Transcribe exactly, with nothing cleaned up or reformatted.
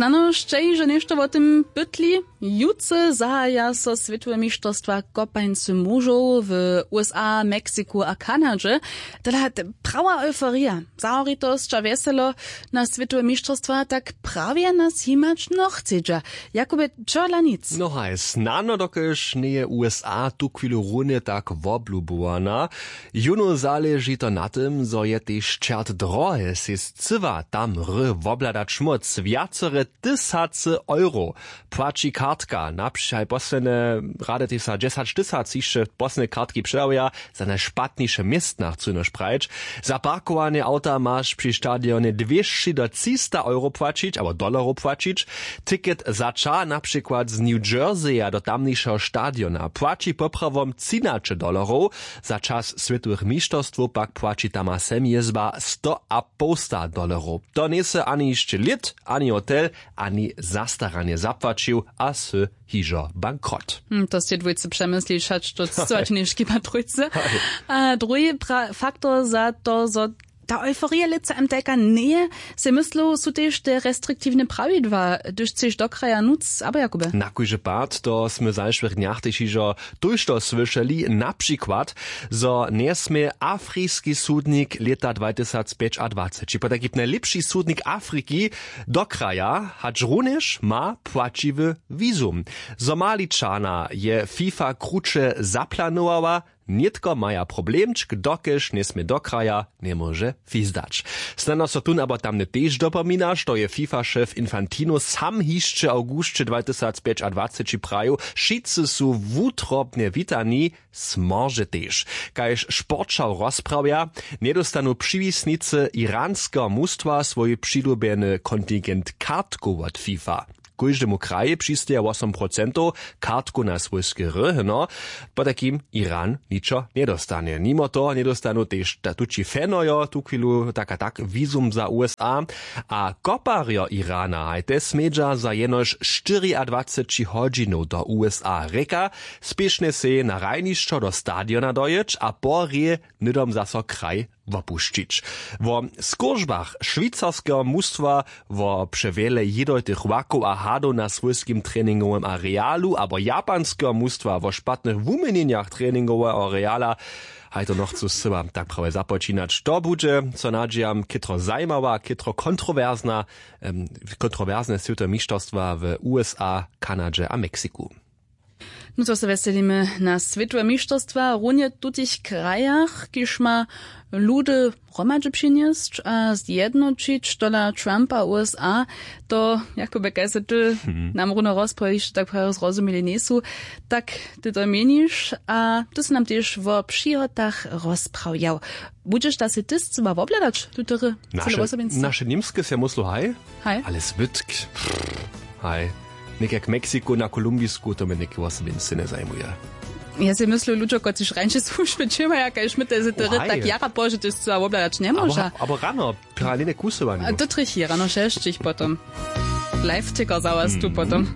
Snano sće hižo něšto wo tym pytli. Jutře zahaja so swětowe mišterstwa kopańcy mužow w usa, mexiku a kanadźe. Tola, prawa euforija, zahoritosć a wjeselo na swětowe mišterstwa tak prawje nas jimać nochcedźa. Jakubje, čohodla nic. No haj, snano dokelž njeje usa tuchwilu runje tak woblubowana. Jónu zaleži to na tym, zo je tež čert drohe sej scyła tam hry wobhladać móc wjacore tysacy euro. Płaći kartka na přihaj posledne rady tež za dźesać tysac hišće posledne kartki předawaja. Za najšpatniše městna chcu jenož prajić. Za parkowanje awta maš při stadionje dwěsći do třista euro płaćić abo dolarow płaćić. Ticket za ča na přikład z new jerseya do tamnišeho stadiona płaći poprawom třinaće dolarow. Za čas swětowych mišterstwow pak płaći tam a sem jězba sto a połsta dolerow. To njejsy ani hišće lět, ani hotel, ani zastaranje zapłaćił a sy hižo bankrot. Hm, to stej dwójce přemyslić hač to cycować něžki ma trójce. A druhi pra- faktor za to zo ta euforija lětsa mtk njeje, sej myslu su tež te restriktiwne prawidła hdyž chceš do kraja nóc abo jakube? Na kóždy pad to smy w zašłych dnjach tež hižo tójšto słyšeli, na přikład zo njesmě afriski sudnik lěta dwatysacpjećadwaceći potajkim najlěpši sudnik afriki do kraja hač runjež ma płaćiwy wizum. Zo maličana je fifa kruće zaplanowała. Nětko maja problemčk dokelž njesmě do kraja, njemóže fizdać. Snano so tón abo tamny tež dopominaš to je fifa šef infantino sam hišće awgusće dwatysacpjećadwaceći prajił, wšitcy su wutrobnje witani. Smorže tež kaž sporćaw rozprawja, njedostanu přiwisnicy iranskeho mustwa swój přilubjeny kontingent kartkow wot fifa. Kóždemu krajej přisteja wosom procentow kartkow na swójske hry hno. Potajkim iran ničo njedostanje nimo toho njedostanu tež tući fanojo tuchwilu tak a tak wizum za usa. A koparjo irana hajte smědźa za jenož štyriadwaceći hodźinow do usa rěka, spěšnje sej na hrajnišćo do stadiona dojěć a po hrě hnydom zaso kraj wopušćić. Wo skóržbach šwicarskeho mustwa, wo přewjele jědojtych łakow a hadow na swójskim treningowym arealu abo japanskeho mustwa wo špatnych wuměnjenjach treningoweho areala, haj to nochcu scyła tak prawje započinać to budźe, so nadźijam, chětro zajimawa chětro kontrowersna kontrowersne swětowe mišterstwa w usa, kanadźe a mexiku. Nutřo se wjeselimy na swětowe mišterstwa runje w tutych krajach kiž ma ludy hromadźe přinjesć a zjednoćić tola trumpa usa. To jakobje kaj se ty nam runo rozprawiš tak prajo zrozumili njejsu, tak ty to měniš a ty sy nam tež wo přihotach rozprawjał. Budźeš da sej ty scyła wobhladać tutery? Naše němske sej myslu haj. Haj ale zbytk, haj, někak mexiku na kolumbisku to mje něke wosobinsce njezajimuje. Ja sej myslu ludźo kotřiž rańše słužby dźěłaja kaž my te sej tery tak jara pozdźe ty scyła wobhladać njemóža. Abo rano paralelne kusowanje. To trjechi rano šesćich potom. Live ticker za was tu potom.